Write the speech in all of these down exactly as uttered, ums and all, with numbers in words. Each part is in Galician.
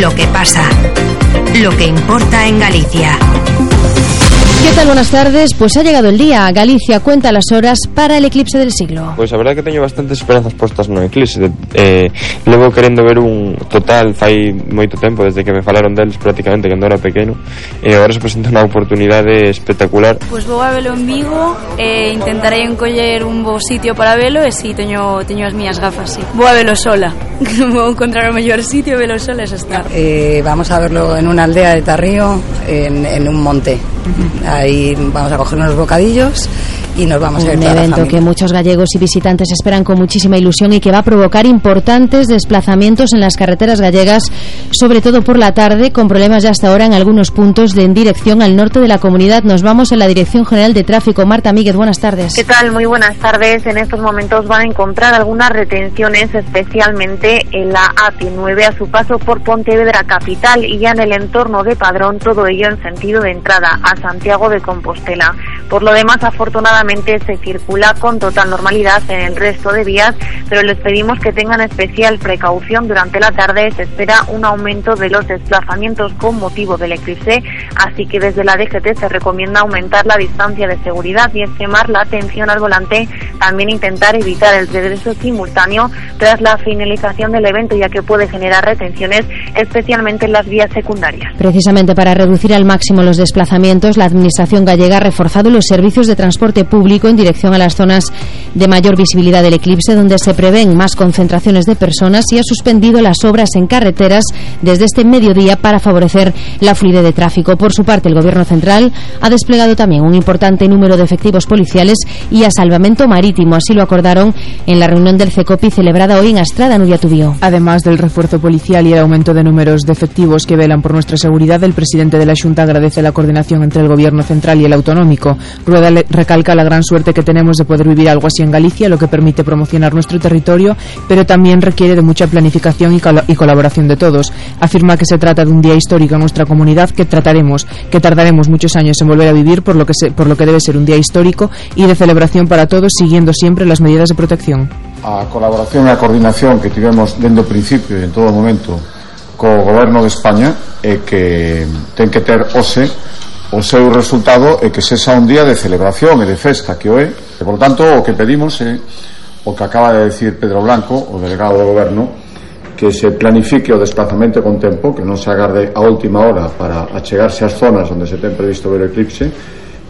Lo que pasa, lo que importa en Galicia. ¿Qué tal? Buenas tardes. Pues ha llegado el día. Galicia cuenta las horas para el eclipse del siglo. Pois a verdade que teño bastantes esperanzas postas no eclipse. eh, Levo querendo ver un total fai moito tempo, desde que me falaron deles prácticamente cando era pequeno, e agora se presenta unha oportunidade espectacular. Pois vou a velo en Vigo e intentarei encoller un bo sitio para velo, e si teño, teño as miñas gafas, sí. Vou a velo sola. Vou encontrar o mellor sitio, velo sola, eso está. Eh, vamos a verlo en una aldea de Tarrío, en, en un monte. Uh-huh. Ahí vamos a coger unos bocadillos y nos vamos a ir. Un evento que muchos gallegos y visitantes esperan con muchísima ilusión y que va a provocar importantes desplazamientos en las carreteras gallegas, sobre todo por la tarde, con problemas ya hasta ahora en algunos puntos de en dirección al norte de la comunidad. Nos vamos a la Dirección General de Tráfico. Marta Míguez, buenas tardes. ¿Qué tal? Muy buenas tardes. En estos momentos van a encontrar algunas retenciones, especialmente en la A P nueve a su paso por Pontevedra capital y ya en el entorno de Padrón, todo ello en sentido de entrada a Santiago de Compostela. Por lo demás, afortunadamente se circula con total normalidad en el resto de vías, pero les pedimos que tengan especial precaución. Durante la tarde se espera un aumento de los desplazamientos con motivo del eclipse, así que desde la D G T se recomienda aumentar la distancia de seguridad y extremar la atención al volante, también intentar evitar el regreso simultáneo tras la finalización del evento, ya que puede generar retenciones, especialmente en las vías secundarias. Precisamente para reducir al máximo los desplazamientos, la Administración gallega ha reforzado los servicios de transporte público en dirección a las zonas de mayor visibilidad del eclipse, donde se prevén más concentraciones de personas, y ha suspendido las obras en carreteras desde este mediodía para favorecer la fluidez de tráfico. Por su parte, el Gobierno central ha desplegado también un importante número de efectivos policiales y a salvamento marítimo. Así lo acordaron en la reunión del CECOPI celebrada hoy en Astrada, Nuria Tubío. Además del refuerzo policial y el aumento de números de efectivos que velan por nuestra seguridad, el presidente de la Xunta agradece la coordinación entre el Gobierno central y el autonómico. Rueda recalca la gran suerte que tenemos de poder vivir algo así en Galicia, lo que permite promocionar nuestro territorio, pero también requiere de mucha planificación y, col- y colaboración de todos. Afirma que se trata de un día histórico en nuestra comunidad que trataremos, que tardaremos muchos años en volver a vivir, por lo que se, por lo que debe ser un día histórico y de celebración para todos, siguiendo siempre las medidas de protección. A colaboración e a coordinación que tivemos dende o principio e en todo momento co Goberno de España é que ten que ter hoxe o seu resultado e que sexa un día de celebración e de festa que o é. E, por tanto, o que pedimos é o que acaba de decir Pedro Blanco, o delegado do Goberno, que se planifique o desplazamento con tempo, que non se agarde a última hora para achegarse ás zonas onde se ten previsto ver o eclipse,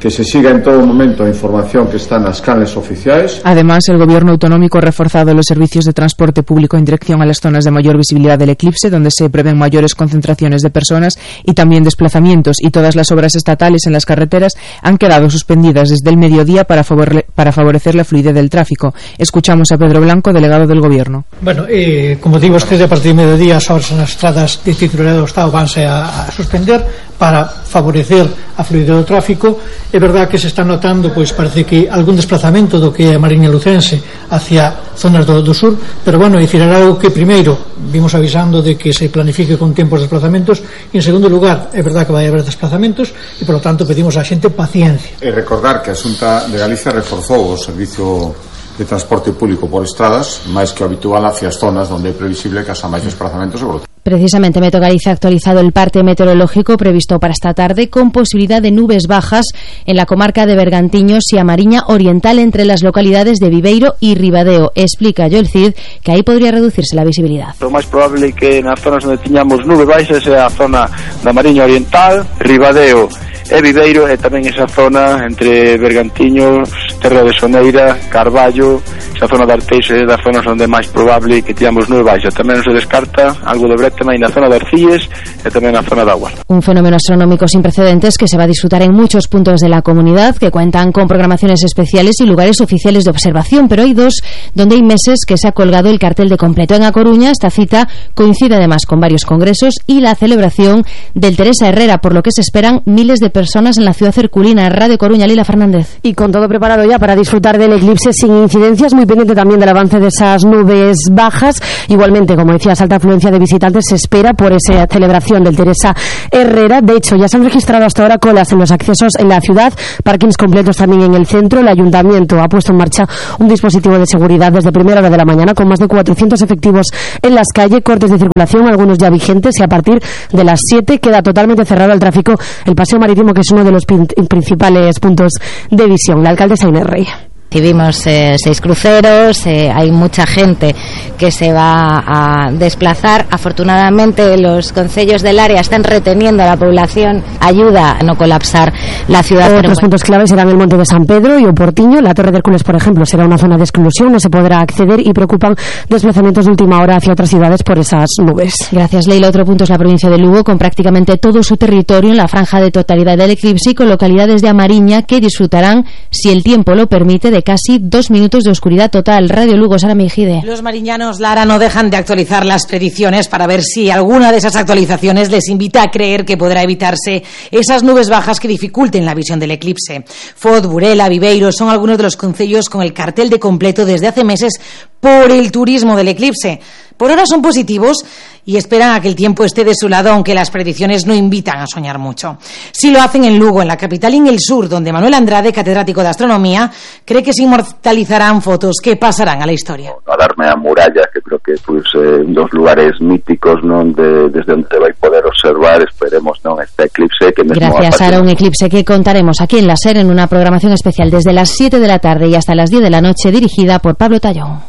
que se siga en todo momento a información que está nas canles oficiais. Además, el Gobierno autonómico ha reforzado los servicios de transporte público en dirección a las zonas de mayor visibilidad del eclipse, donde se prevén mayores concentraciones de personas y también desplazamientos, y todas las obras estatales en las carreteras han quedado suspendidas desde el mediodía para, favore- para favorecer la fluidez del tráfico. Escuchamos a Pedro Blanco, delegado del Gobierno. Bueno, eh, como digo, este a partir de mediodía as obras nas estradas de titularidade do Estado vanse a, a suspender para favorecer a fluidez do tráfico. É verdad que se está notando, pois parece que algún desplazamento do que é a Mariña Lucense hacia zonas do, do sur, pero bueno, dicir, era algo que primeiro vimos avisando de que se planifique con tempos de desplazamentos, e en segundo lugar, é verdad que vai haber desplazamentos e por lo tanto pedimos á xente paciencia. E recordar que a Xunta de Galicia reforzou o servicio de transporte público por estradas, máis que o habitual hacia as zonas onde é previsible que haxa máis desplazamentos e por Precisamente Meteo Galicia ha actualizado el parte meteorológico previsto para esta tarde, con posibilidad de nubes bajas en la comarca de Bergantiños y a Mariña Oriental, entre las localidades de Viveiro y Ribadeo. Explica Joel Cid que ahí podría reducirse la visibilidad. Lo máis probable que nas zonas onde tiñamos nubes baixas é a zona da Mariña Oriental, Ribadeo e Viveiro, e tamén esa zona entre Bergantiños, Terra de Soneira, Carballo, esa zona de Arteixo é das zonas onde é máis probable que tiñamos nube baixa. Tamén non se descarta algo de Brétema e na zona de Arcilles e tamén na zona de Aguas. Un fenómeno astronómico sin precedentes que se va a disfrutar en muchos puntos de la comunidad, que cuentan con programaciones especiales y lugares oficiales de observación, pero hay dos donde hay meses que se ha colgado el cartel de completo. En A Coruña, esta cita coincide además con varios congresos y la celebración del Teresa Herrera, por lo que se esperan miles de personas en la ciudad herculina. Radio Coruña, Lila Fernández. Y con todo preparado ya ya para disfrutar del eclipse sin incidencias, muy pendiente también del avance de esas nubes bajas. Igualmente, como decías, alta afluencia de visitantes se espera por esa celebración del Teresa Herrera. De hecho, ya se han registrado hasta ahora colas en los accesos en la ciudad, parkings completos también en el centro. El ayuntamiento ha puesto en marcha un dispositivo de seguridad desde primera hora de la mañana con más de cuatrocientos efectivos en las calles, cortes de circulación, algunos ya vigentes, y a partir de las siete queda totalmente cerrado al tráfico el paseo marítimo, que es uno de los principales puntos de visión. La alcaldesa Inés Rey. Recibimos eh, seis cruceros, eh, hay mucha gente que se va a desplazar. Afortunadamente los concellos del área están reteniendo a la población, ayuda a no colapsar la ciudad. Otros bueno. puntos claves serán el Monte de San Pedro y Oportiño. La Torre de Hércules, por ejemplo, será una zona de exclusión, no se podrá acceder, y preocupan desplazamientos de última hora hacia otras ciudades por esas nubes. Gracias, Leila. Otro punto es la provincia de Lugo, con prácticamente todo su territorio en la franja de totalidad del eclipse y con localidades de Amariña que disfrutarán, si el tiempo lo permite, de casi dos minutos de oscuridad total. Radio Lugo, Sara Mejide. Los mariñanos, Lara, no dejan de actualizar las predicciones para ver si alguna de esas actualizaciones les invita a creer que podrá evitarse esas nubes bajas que dificulten la visión del eclipse. Foz, Burela, Viveiro son algunos de los concellos con el cartel de completo desde hace meses por el turismo del eclipse. Por ahora son positivos y esperan a que el tiempo esté de su lado, aunque las predicciones no invitan a soñar mucho. Sí lo hacen en Lugo, en la capital y en el sur, donde Manuel Andrade, catedrático de astronomía, cree que se inmortalizarán fotos que pasarán a la historia. Alarme a Muralla, que creo que pues, eh, dos lugares míticos, non, de, desde onde vai poder observar, esperemos, non, este eclipse. Que Gracias, Sara, un eclipse que contaremos aquí en la SER en una programación especial desde las siete de la tarde y hasta las diez de la noche, dirigida por Pablo Tallón.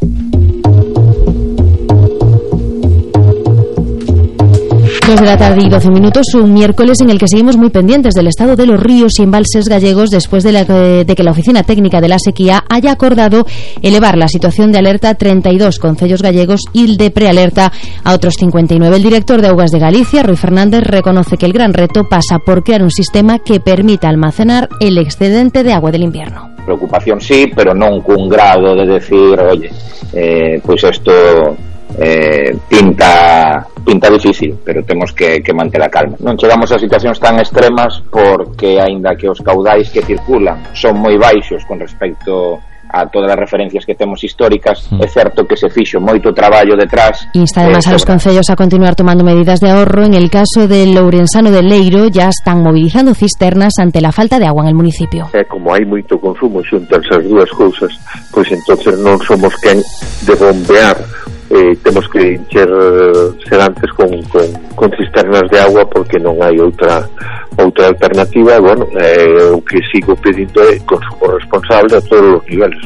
Dos de la tarde y doce minutos, un miércoles en el que seguimos muy pendientes del estado de los ríos y embalses gallegos después de, la, de que la Oficina Técnica de la Sequía haya acordado elevar la situación de alerta a treinta y dos concellos gallegos y el de prealerta a otros cincuenta y nueve. El director de Augas de Galicia, Rui Fernández, reconoce que el gran reto pasa por crear un sistema que permita almacenar el excedente de agua del invierno. Preocupación sí, pero non cun grado de decir, oye, eh, pois pues isto eh, pinta pinta difícil, pero temos que, que manter a calma. Non chegamos a situacións tan extremas porque, aínda que os caudais que circulan son moi baixos con respecto a todas as referencias que temos históricas, mm. é certo que se fixo moito traballo detrás. Insta además eh, a los concellos a continuar tomando medidas de ahorro. En el caso del Lourensano de Leiro ya están movilizando cisternas ante la falta de agua en el municipio. Eh, como hai moito consumo xunto as dúas cousas, pois entonces non somos quen de bombear. Eh, temos que encher sedantes con, con, con cisternas de agua porque non hai outra outra alternativa. Bueno, eh, o que sigo pedindo é consumo responsable a todos os niveles.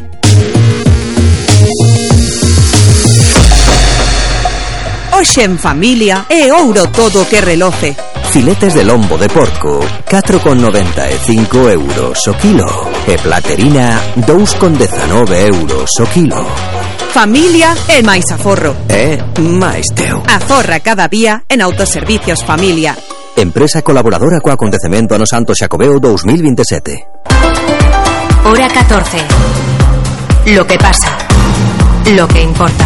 Hoxe en familia é ouro todo que reloce. Filetes de lombo de porco, catro con noventa e cinco euros o kilo. E platerina, dous con dezanove euros o kilo. Familia e máis aforro. É máis teu. Aforra cada día en Autoservicios Familia. Empresa colaboradora co acontecemento Ano Santo Xacobeo dos mil veintisiete. Hora catorce. Lo que pasa. Lo que importa.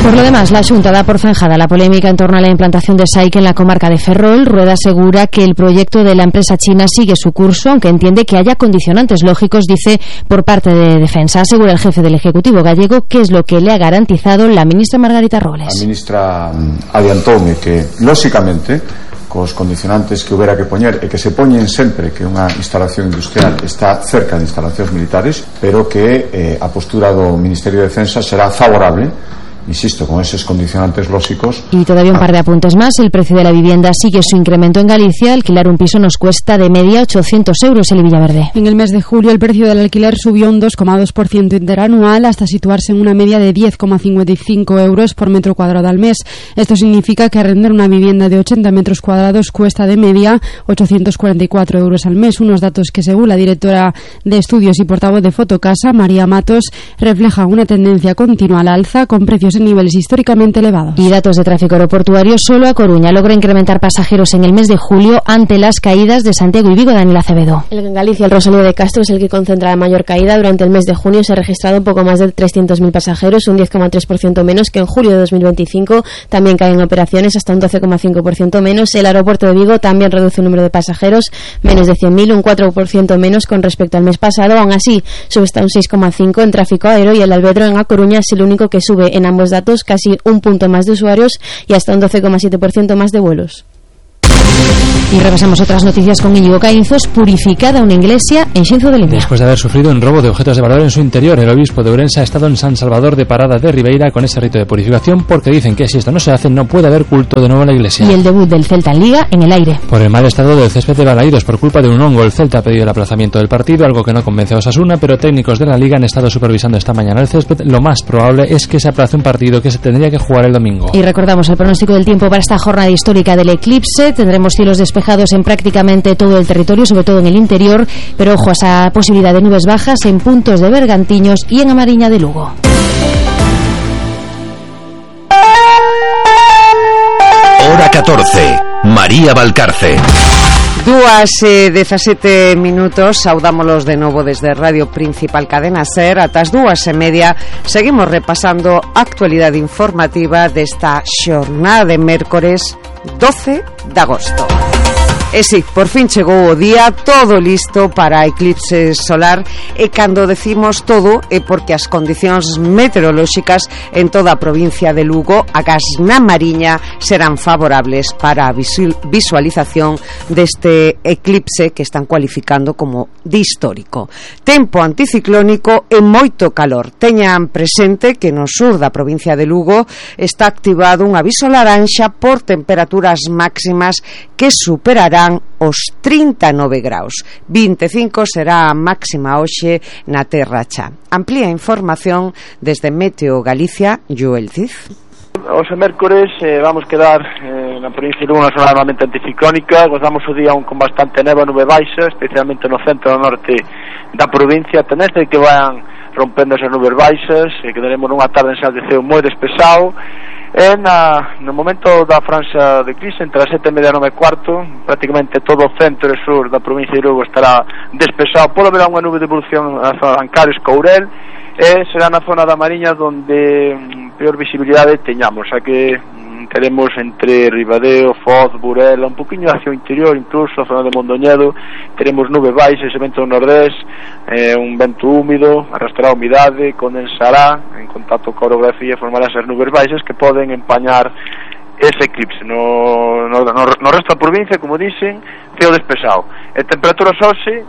Por lo demás, la Xunta da por zanjada la polémica en torno a la implantación de S A I C en la comarca de Ferrol. Rueda asegura que el proyecto de la empresa china sigue su curso, aunque entiende que haya condicionantes lógicos, dice, por parte de Defensa. Asegura el jefe del Ejecutivo gallego que es lo que le ha garantizado la ministra Margarita Robles. La ministra adiantoume que, lóxicamente, cos condicionantes que houbera que poñer e que se poñen sempre que unha instalación industrial está cerca de instalacións militares, pero que eh, a postura do Ministerio de Defensa será favorable, insisto, con esos condicionantes lógicos. Y todavía un par de apuntes más. El precio de la vivienda sigue su incremento en Galicia. Alquilar un piso nos cuesta de media ochocientos euros en Villaverde. En el mes de julio el precio del alquiler subió un dos coma dos por ciento interanual hasta situarse en una media de diez coma cincuenta y cinco euros por metro cuadrado al mes. Esto significa que arrendar una vivienda de ochenta metros cuadrados cuesta de media ochocientos cuarenta y cuatro euros al mes. Unos datos que, según la directora de estudios y portavoz de Fotocasa, María Matos, reflejan una tendencia continua al alza, con precios en niveles históricamente elevados. Y datos de tráfico aeroportuario, solo A Coruña logra incrementar pasajeros en el mes de julio ante las caídas de Santiago y Vigo. Daniel Acevedo. En Galicia, el Rosalía de Castro es el que concentra la mayor caída. Durante el mes de junio se ha registrado un poco más de trescientos mil pasajeros, un diez coma tres por ciento menos que en julio de dos mil veinticinco. También caen operaciones, hasta un doce coma cinco por ciento menos. El aeropuerto de Vigo también reduce el número de pasajeros, menos de cien mil, un cuatro por ciento menos con respecto al mes pasado. Aún así, sube hasta un seis coma cinco por ciento en tráfico aéreo, y el Albedro en A Coruña es el único que sube en ambos datos, casi un punto más de usuarios y hasta un doce coma siete por ciento más de vuelos. Y repasamos otras noticias con Íñigo Caínzos. Purificada una iglesia en Xinzo de Limia. Después de haber sufrido un robo de objetos de valor en su interior, el obispo de Ourense ha estado en San Salvador de Parada de Ribeira con ese rito de purificación, porque dicen que si esto no se hace no puede haber culto de nuevo en la iglesia. Y el debut del Celta en Liga en el aire. Por el mal estado del césped de Balaídos por culpa de un hongo, el Celta ha pedido el aplazamiento del partido, algo que no convence a Osasuna, pero técnicos de la Liga han estado supervisando esta mañana el césped. Lo más probable es que se aplace un partido que se tendría que jugar el domingo. Y recordamos el pronóstico del tiempo para esta jornada histórica del eclipse. Tendremos cielos despejados en prácticamente todo el territorio, sobre todo en el interior, pero ojo a esa posibilidad de nubes bajas en puntos de Bergantiños y en Amariña de Lugo. Hora catorce. María Valcarce. Dúas e dezasete minutos, saudámolos de novo desde Radio Principal Cadena Ser. Ata as dúas e media seguimos repasando a actualidade informativa desta xornada de mércores doce de agosto. E si, por fin chegou o día, todo listo para a eclipse solar, e cando decimos todo é porque as condicións meteorolóxicas en toda a provincia de Lugo, agás na Mariña, serán favorables para a visualización deste eclipse que están cualificando como de histórico. Tempo anticiclónico e moito calor. Teñan presente que no sur da provincia de Lugo está activado un aviso laranxa por temperaturas máximas que superarán os trinta e nove graus. vinte e cinco será a máxima hoxe na Terra Cha. Amplía información desde Meteo Galicia, Joel Cid. Os mércores eh, vamos quedar eh, na provincia de Lugo unha zona normalmente anticiclónica. Gozamos o día un con bastante neva, nube baixa, especialmente no centro e no norte da provincia. Teneste que van rompendo esas nubes baixas, e quedaremos nunha tarde en sal de ceo moi despexado. E na, no momento da franxa de eclipse, entre as sete e media e nove e cuarto, prácticamente todo o centro e sur da provincia de Lugo estará despexado. Pode haber unha nube de evolución na zona de Ancares, Courel, e será na zona da Mariña donde mm, peor visibilidade teñamos, xa que mm, teremos entre Ribadeo, Foz, Burela, un poquinho hacia o interior, incluso a zona de Mondoñedo, teremos nube baixa, ese vento do nordés, eh, un vento húmido, arrastrará umidade, condensará, en contacto coa orografía, formará esas nubes baixas que poden empañar ese eclipse. No, no, no, no resto da provincia, como dicen, ceo despexado. E temperaturas hoxe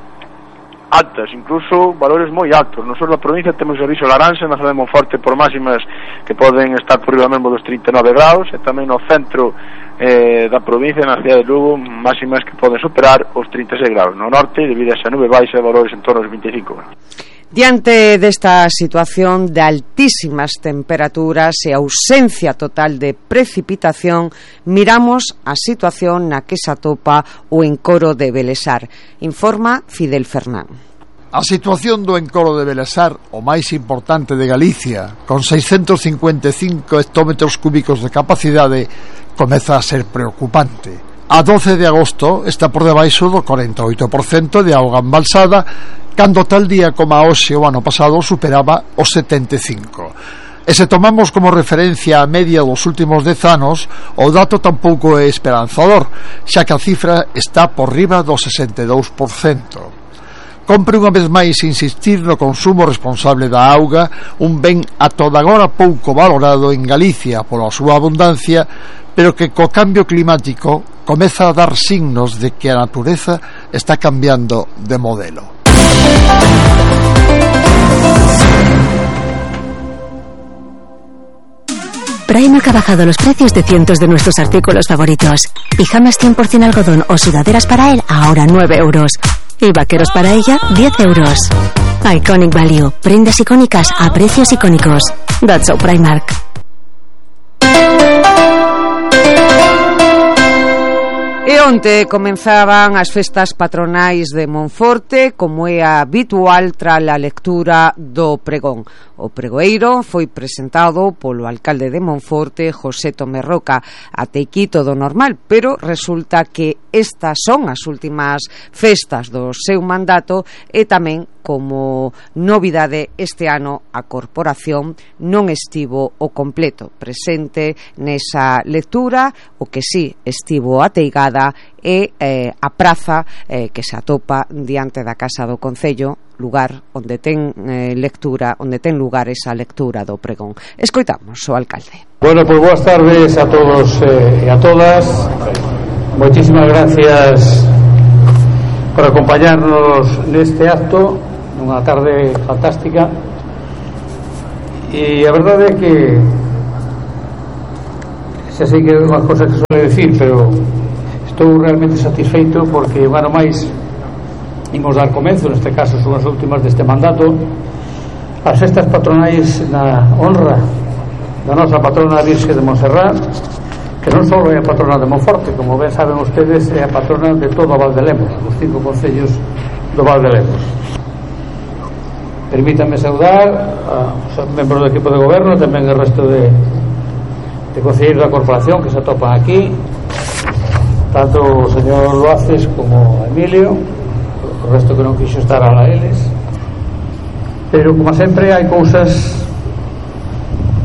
altas, incluso valores moi altos. No sur da provincia temos aviso laranxa na zona de Monforte por máximas que poden estar por riba mesmo dos trinta e nove graus, e tamén no centro eh, da provincia, na cidade de Lugo, máximas que poden superar os trinta e seis graus. No norte, debido a esa nube baixa, valores en torno aos vinte e cinco graus. Diante desta situación de altísimas temperaturas e ausencia total de precipitación, miramos a situación na que se atopa o encoro de Belesar. Informa Fidel Fernán. A situación do encoro de Belesar, o máis importante de Galicia, con seiscentos cincuenta e cinco hectómetros cúbicos de capacidade, comeza a ser preocupante. A doce de agosto está por debaixo do corenta e oito por cento de auga embalsada, cando tal día como a hoxe o ano pasado superaba os setenta e cinco. E se tomamos como referencia a media dos últimos dez anos, o dato tampouco é esperanzador, xa que a cifra está por riba do sesenta e dous por cento. Compre unha vez máis insistir no consumo responsable da auga, un ben a toda agora pouco valorado en Galicia pola súa abundancia, pero que co cambio climático comeza a dar signos de que a natureza está cambiando de modelo. Primark ha bajado los precios de cientos de nuestros artículos favoritos. Pijamas cien por cien algodón o sudaderas para él, ahora nueve euros. Y vaqueros para ella, diez euros. Iconic Value. Prendas icónicas a precios icónicos. That's all Primark. E Onte comenzaban as festas patronais de Monforte, como é habitual tras a lectura do pregón. O pregoeiro foi presentado polo alcalde de Monforte, José Tomé Roca. Até aquí todo normal, pero resulta que estas son as últimas festas do seu mandato e tamén, como novidade este ano, a corporación non estivo o completo presente nesa lectura. O que sí estivo ateigada é eh, a praza eh, que se atopa diante da Casa do Concello, lugar onde ten eh, lectura, onde ten lugar esa lectura do pregón. Escoitamos o alcalde. Bueno, pues boas tardes a todos eh, e a todas. Moitísimas gracias por acompañarnos neste acto, nunha tarde fantástica. E a verdade é que xa sei que é unha cosa que suele decir, pero estou realmente satisfeito porque, bueno, máis imos dar comenzo, neste caso son as últimas deste mandato, as festas patronais na honra da nosa patrona Virxe de Montserrat, que non só é a patrona de Monforte, como ben saben ustedes, é a patrona de todo o Val de Lemos, os cinco concellos do Val de Lemos. Permítanme saudar aos membros do equipo de goberno, tamén o resto de, de concelleiros da corporación que se atopan aquí, tanto o señor Loaces como Emilio, o resto que non quixo estar a la eles. Pero como sempre hai cousas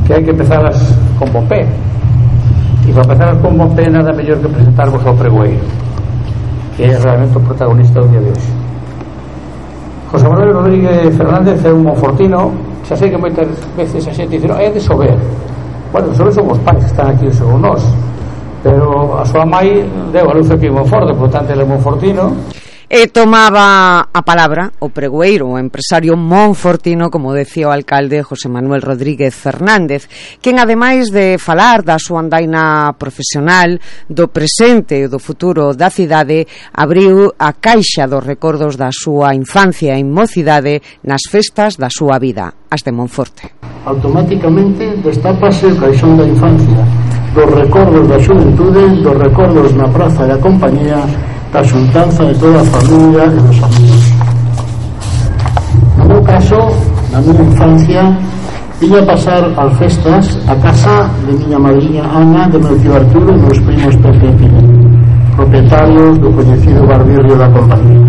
que hai que empezarlas con bompé, e para empezar con bompé nada mellor que presentarvos ao pregoeiro, que é realmente o protagonista do día de hoxe. José Manuel Rodríguez Fernández é un monfortino. Xa sei que moitas veces a xente dice, no, é de Sober. Bueno, de Sober son os pais que están aquí según nós, pero a súa mai deu a luz aquí en Monforte, por tanto ele é monfortino. E tomaba a palabra o pregoeiro, o empresario monfortino, como decía o alcalde José Manuel Rodríguez Fernández, quen ademais de falar da súa andaina profesional, do presente e do futuro da cidade, abriu a caixa dos recordos da súa infancia e mocidade nas festas da súa vida, as de Monforte. Automáticamente destápase o caixón da infancia, dos recordos da xuventude, dos recordos na praza da compañía, da xuntanza de toda a familia e dos amigos. No meu caso, na miña infancia, ia pasar as festas a casa de miña madriña Ana, de meu tío Arturo e meus primos Pepe e Pili, propietarios do coñecido barbirrio da compañía.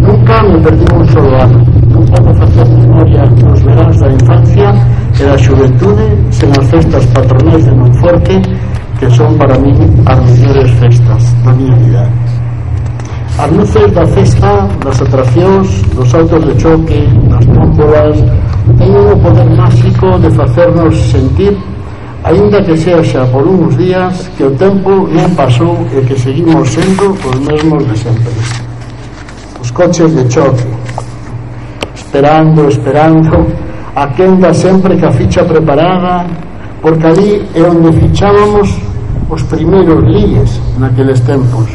Nunca me perdí un solo ano, nunca me facía memoria dos veráns da infancia e da xuventude sen as festas patronais de Monforte, que son para mí as mellores festas da miña vida. As luces da festa, das atraccións, dos autos de choque, das tómbolas, teñen o poder máxico de facernos sentir, aínda que sexa por uns días, que o tempo non pasou e que seguimos sendo os mesmos de sempre. Os coches de choque, esperando, esperando, a quenda sempre que a ficha preparada, porque ali é onde fichábamos os primeiros líes naqueles tempos.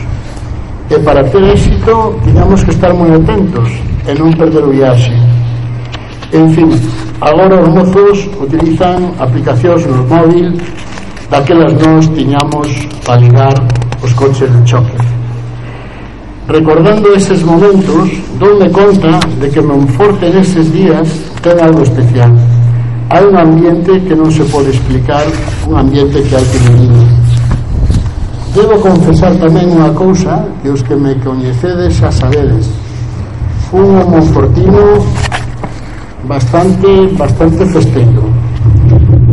E para ter éxito tiñamos que estar moi atentos e non perder o viaxe. En fin, agora os mozos utilizan aplicacións no móvil, daquelas nós tiñamos para ligar os coches de choque. Recordando eses momentos, doume conta de que Monforte neses días ten algo especial. Hai un ambiente que non se pode explicar, un ambiente que hai que vivir. Debo confesar tamén unha cousa que os que me coñecedes xa sabedes. Un monfortino bastante bastante festeiro,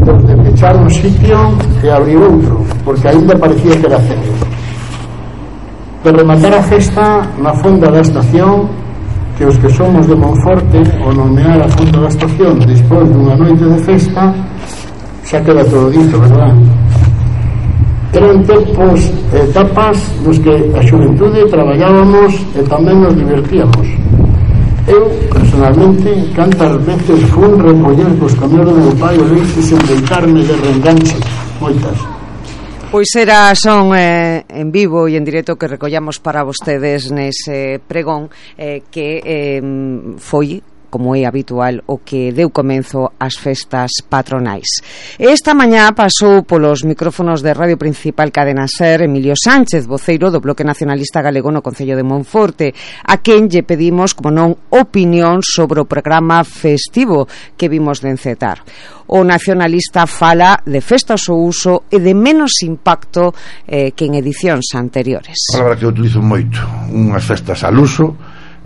de pechar un sitio e abrir outro, porque ainda parecía que era cedo. De rematar a festa na fonda da estación, que os que somos de Monforte, o nomear a fonda da estación despois dunha noite de festa, xa queda todo dito, verdad? Eran tempos e etapas nos que a xuventude traballábamos e tamén nos divertíamos. Eu, personalmente, cantas veces fun recoller cos camións do meu pai o leite sen deitarme de reenganche, moitas. Pois era son eh, en vivo e en directo que recollamos para vostedes nese pregón eh, que eh, foi como é habitual, o que deu comenzo ás festas patronais. Esta mañá pasou polos micrófonos de Radio Principal Cadena Ser Emilio Sánchez, voceiro do Bloque Nacionalista Galego no Concello de Monforte, a quen lle pedimos, como non, opinión sobre o programa festivo que vimos de encetar. O nacionalista fala de festas ao uso e de menos impacto eh, que en edicións anteriores. A palabra que eu utilizo moito, unhas festas al uso,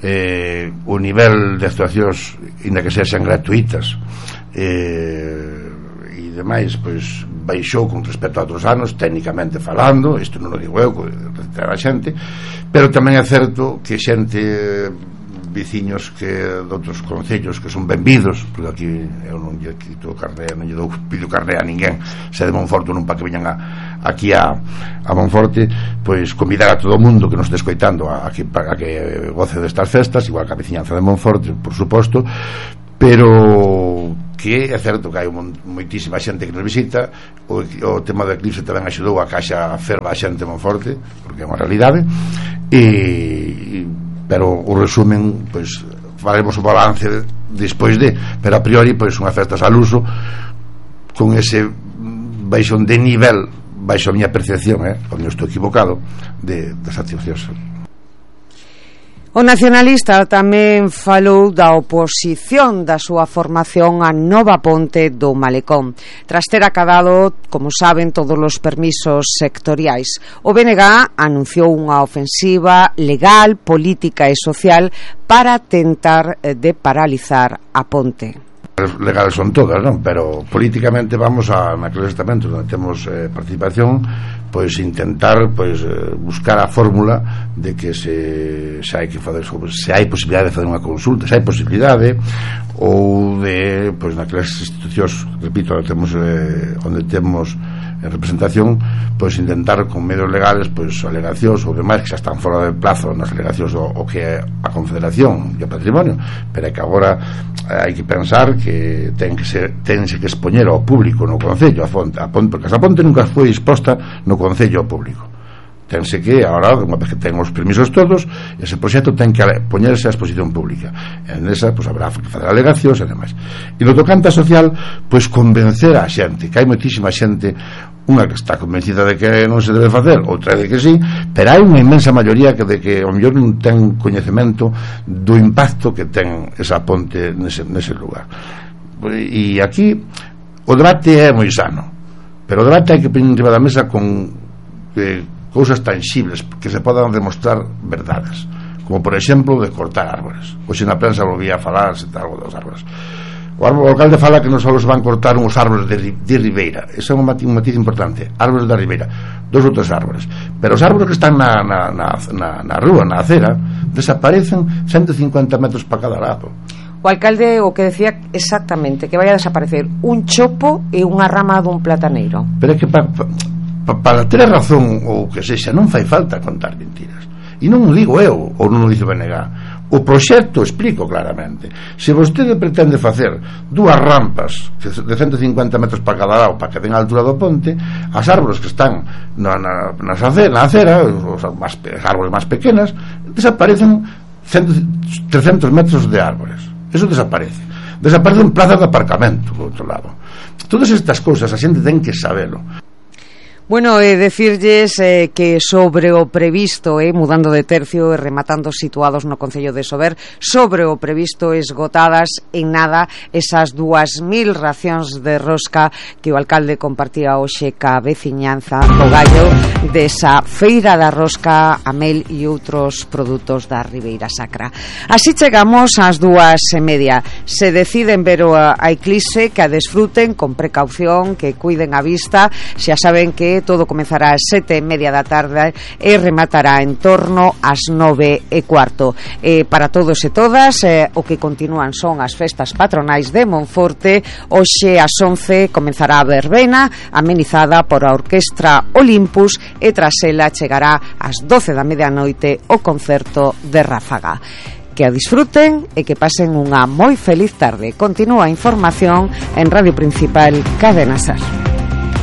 eh, o nivel de actuacións inda que sexan gratuitas eh, e demais, pois baixou con respecto a outros anos, técnicamente falando, isto non o digo eu, a xente, pero tamén é certo que xente, veciños que de outros concellos que son benvidos, porque aquí eu non lle quito carné, non lle dou pido carné a ninguén, se de Monforte non para que veñan a, aquí a, a Monforte, pois convidar a todo o mundo que nos este escoitando a, a, que, a que goce destas festas, igual que a veciñanza de Monforte, por suposto, pero que é certo que hai moitísima xente que nos visita. O, o tema do eclipse tamén axudou a caixa ferva a xente de Monforte, porque é unha realidade, e pero o resumen, pois faremos o balance despois de, pero a priori pois unha festas al uso con ese baixón de nivel, baixo a miña percepción, eh, onde estou equivocado, de, das accións. O nacionalista tamén falou da oposición da súa formación á nova ponte do Malecón, tras ter acadado, como saben, todos os permisos sectoriais. O B N G anunciou unha ofensiva legal, política e social para tentar de paralizar a ponte. Legales son todas, non? Pero políticamente vamos a naqueles estamentos onde temos eh, participación, pois intentar pois eh, buscar a fórmula de que se, se hai que fazer, se hai posibilidade de fazer unha consulta, se hai posibilidade, ou de pois naquelas institucións, repito, onde temos eh, onde temos en representación, pois intentar con medios legales, pois alegacións ou demais que xa están fora de plazo nas alegacións o, o que é a Confederación e o Patrimonio, pero é que agora eh, hai que pensar que ten que ser, tense que expoñer ao público no Concello a fonte, a ponte, porque esa ponte nunca foi exposta no Concello ao público. Tense que, agora, unha vez que ten os permisos todos, ese proxecto ten que poñerse a exposición pública. En esa, pois, habrá que fazer alegacións e demais. E no tocante social, pois, convencer a xente, que hai moitísima xente, unha que está convencida de que non se debe facer, outra de que sí, pero hai unha inmensa maioría que de que ao mellor non ten coñecemento do impacto que ten esa ponte nese, nese lugar. E aquí o debate é moi sano, pero o debate hai que poñer enriba da mesa con eh, cousas tangibles que se podan demostrar verdades, como por exemplo de cortar árboles. Hoxe na prensa volvía a falar se algo dos árboles. O, árbol, o alcalde fala que non só os van cortar uns árboles de, de ribeira, ese é un matiz, un matiz importante, árboles da ribeira, dos outros árboles, pero os árboles que están na, na, na, na, na rúa, na acera, desaparecen ciento cincuenta metros para cada lado. O alcalde o que decía exactamente que vai a desaparecer un chopo e unha rama dun plataneiro. Pero é que pa, pa, pa, para ter razón ou que sexa, non fai falta contar mentiras. E non o digo eu, ou non o dice o B N G. O proxecto explico claramente. Se vostede pretende facer dúas rampas de ciento cincuenta metros para cada lado para que den a altura do ponte, as árboles que están na, na, na, acera, na acera, os más, árboles máis pequenas, desaparecen cento, trescentos metros de árboles. Eso desaparece. Desaparecen plazas de aparcamento, por outro lado. Todas estas cousas a xente ten que sabelo. Bueno, eh, decirlles eh, que sobre o previsto, eh, mudando de tercio e rematando situados no Concello de Sober, sobre o previsto esgotadas en nada esas dúas mil racións de rosca que o alcalde compartía hoxe ca veciñanza do Gallo desa feira da rosca, a mel e outros produtos da Ribeira Sacra. Así chegamos ás dúas e media. Se deciden ver a, a eclipse, que a desfruten con precaución, que cuiden a vista. Xa saben que todo comezará ás sete e media da tarde e rematará en torno ás nove e cuarto. Eh, para todos e todas, eh, o que continúan son as festas patronais de Monforte. Hoxe ás once comenzará a verbena, amenizada por a Orquestra Olympus, e tras ela chegará ás doce da medianoite o concerto de Ráfaga. Que a disfruten e que pasen unha moi feliz tarde. Continúa a información en Radio Principal Cadena Ser.